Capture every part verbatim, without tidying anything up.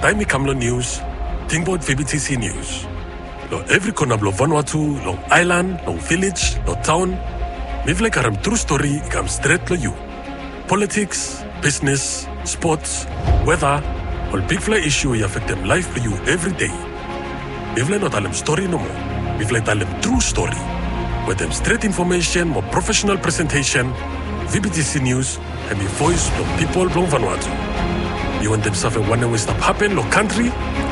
Taem i kam long nius, tingbaot V B T C Nius. Long evri kona blong Vanuatu, long aelan, long vilej, long taon, mifala i karem tru stori i kam stret long yu. Politiks, bisnes, spots, weta, ol bigfala isu i afektem laef blong yu evri dei. Mifala i no talem stori nomo. Mifala i talem tru stori. Wetem stret infomesen mo profesenal presentesen, V B T C Nius hemi voes blong pipol blong Vanuatu. Yu wantem save wanem we i stap hapen long kantri?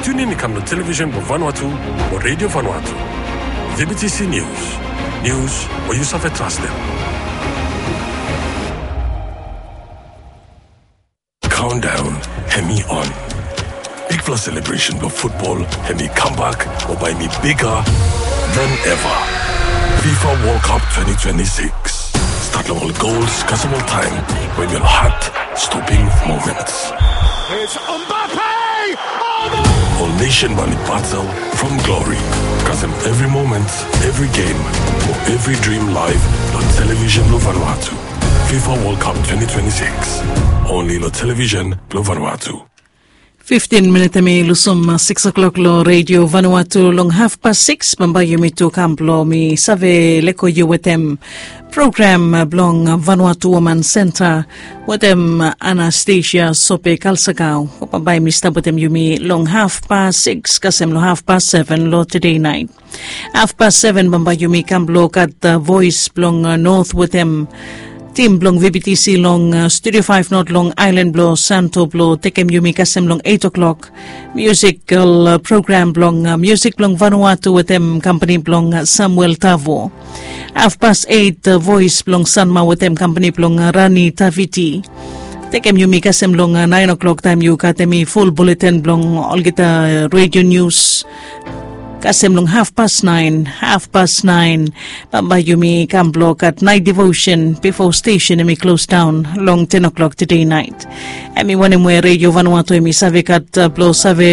Tiunin i kam long televisen blong Vanuatu mo Redio Vanuatu. V B T C Nius. Nius we yu save trastem. Countdown hemi on. Bigfala selebresen blong futbol hemi kambak mo bae hemi biga than eva. FIFA World Cup twenty twenty-six. Stat long ol gols kasem ol taem we hemi ol hat stoping moments. It's Mbappe! Oh, no! Ol nesen bae oli batel from glori. Kasem evri moment, evri gem, mo evri drim laef long televisen blong Vanuatu. FIFA World Cup twenty twenty-six. Only long televisen blong Vanuatu. Fiftin minit hemi lusum sikis o'clock long Redio Vanuatu. Long hafpas sikis bambae yumi tu kam blong mi save lego yu wetem program blong Vanuatu Woman Senta wetem Anastasia Sope Kalsakau. Bambae mi stap wetem yumi long hafpas sikis kasem long hafpas seven long tede naet. Hafpas seven bambae yumi kam blong gat voes blong Not wetem tim blong V B T C long Studio Faef Not long aelan blong Santo blong tekem yumi kasem long eit o'clock. Miusikal program blong miusik blong Vanuatu wetem kampani blong Samuel Tavo. Hafpas eit voes blong Sanma wetem kampani blong Rani Taviti. Tekem yumi kasem long naen o'clock taem yu gat hemi ful buleten blong olgeta redio nius. Kasem long hafpas naen, hafpas naen bambae yumi kam blong gat naet devosen bifo stesen hemi klosdaon long ten o'clock tede naet. Hemi wanem we Redio Vanuatu hemi save gat blong save